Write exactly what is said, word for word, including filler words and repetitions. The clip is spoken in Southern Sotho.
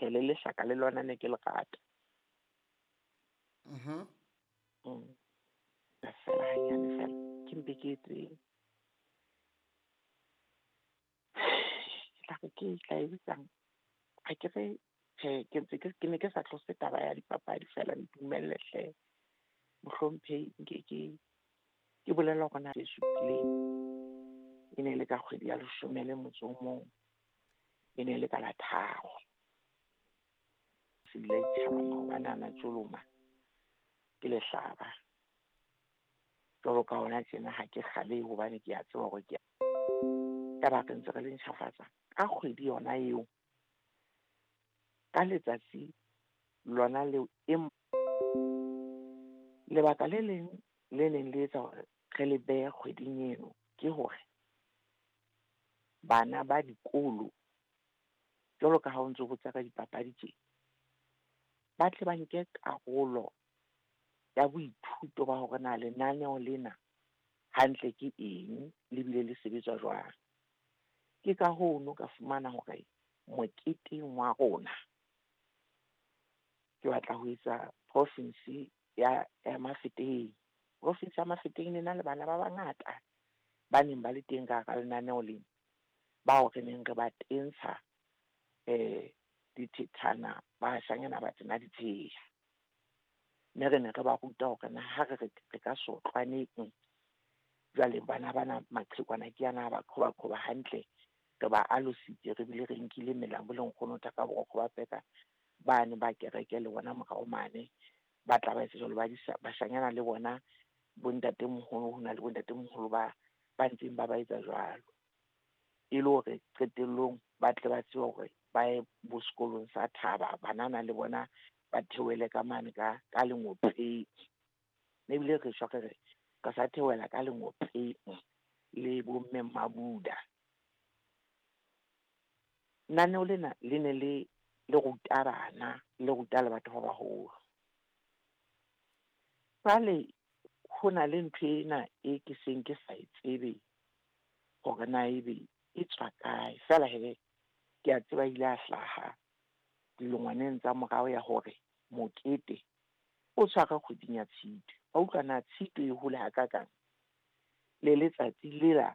Tjhe, le lehlaka le lona ne ke le rata. Mhm. Mm. Feela hanyane feela, ke mpe ke etseng. Ke tla re ke tla e bitsang. Ha ke re tjhe, ke ntse ke ke ne ke sa tlose taba ya dipapadi feela ntumelle hle. Mohlomphehi nke ke ke bolela hore na tse supileng. E ne le ka kgwedi ya leshome le motso o mong. E ne le ka la tharo. Se bile tjhaba maobane ana tjoloma ke lehlaba. Jwalo ka hona tjena ha ke kgalehe hobane ke a tseba hore ke taba re ntse re le ntjhafatsa ka kgwedi yona eo. Ka letsatsi lona leo e lebaka le leng le leng le etsa hore re le behe kgweding eno ke hore bana ba dikolo jwalo ka ha o ntso botsa ka dipapadi tje, ba tle ba nke karolo ya boithuto ba hore na lenaneo lena hantle ke eng le bile le sebetsa jwang. Ke ka hoo no ka fumana hore moketeng wa rona ke batla ho etsa province ya ya Mafeteng. Province ya Mafeteng e na le bana ba bangata ba neng ba le teng ka hara lenaneo lena, bao re neng re ba tentsha eh dithethana, bashanyana ba tena ditsheya. Mme re ne re ba ruta hore na ha re re re ka sotlwaneng jwale bana bana maqhekwana ke ana ba qhoba qhoba hantle, re ba alositse re bile re nkile melamu le nkgono ka borokgo ba peka bane ba kereke le bona morao mane ba tla ba etsa jwalo ba disa bashanyana le bona bontatemoholo ho na le bontatemoholo ba ba ntseng ba ba etsa jwalo. E le hore qetellong ba tle ba tsebe hore ba ye bo sekolong sa thaba banana le bona ba theohele ka mane ka ka lengopeng. Mme ebile re shwa re re ka sa theohela ka lengopeng le bomme Mmabuda. Lenaneo lena le ne le le ruta bana, le ruta le batho ba baholo. Jwale ho na le ntho ena e ke seng ke sa e tsebe hore na ebe e tswa kae. Feela hee ke a tseba ile a hlaha dilongwaneng tsa morao ya hore mokete o tshwarwe kgweding ya Tshitwe. Wa utlwa na Tshitwe e hole hakakang le letsatsi lela.